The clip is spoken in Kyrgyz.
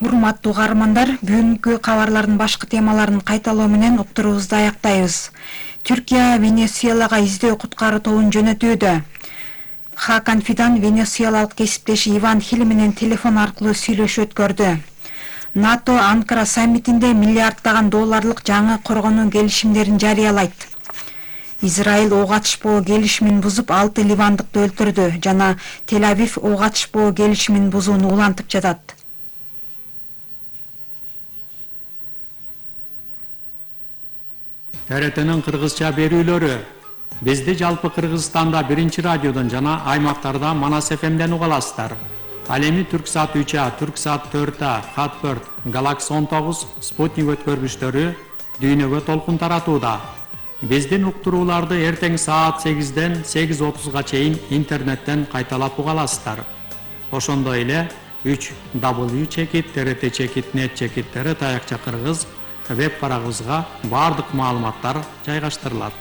Урматтуу угармандар, бүгүнкү кабарлардын башкы темаларын кайталоо менен уктуруубузду аяктайбыз. Түркия Венесуэлага издөө куткаруу тобун жөнөтүүдө. Хакан Фидан венесуэлалык кесиптеши Иван Хил менен телефон аркылуу сүйлөшүү өткөрдү. НАТО Анкара саммитинде миллиарддаган долларлык жаңы коргонуу келишимдерин жарыялайт. Израиль ок атышпоо келишимин бузуп 6 ливандыкты өлтүрдү жана Тель-Авив ок атышпоо келишимин бузууну улантып жатат. ТРТнын кыргызча берүүлөрү. Бизди жалпы Кыргызстанда 1 радиодон жана аймактарда Манас ФМден уга аласыздар. Ал эми Түрксат 3А, Түрксат 4А, Хатберт, Галакс 19, Спутник өткөргүчтөрү дүйнөгө толкун таратууда. Биздин уктурууларды эртең саат 8ден 8:30га чейин интернеттен кайталап уга аласыздар. Ошондой эле 3w.trt.net/TRT Кыргыз веб барагыбызга бардык маалыматтар жайгаштырылат.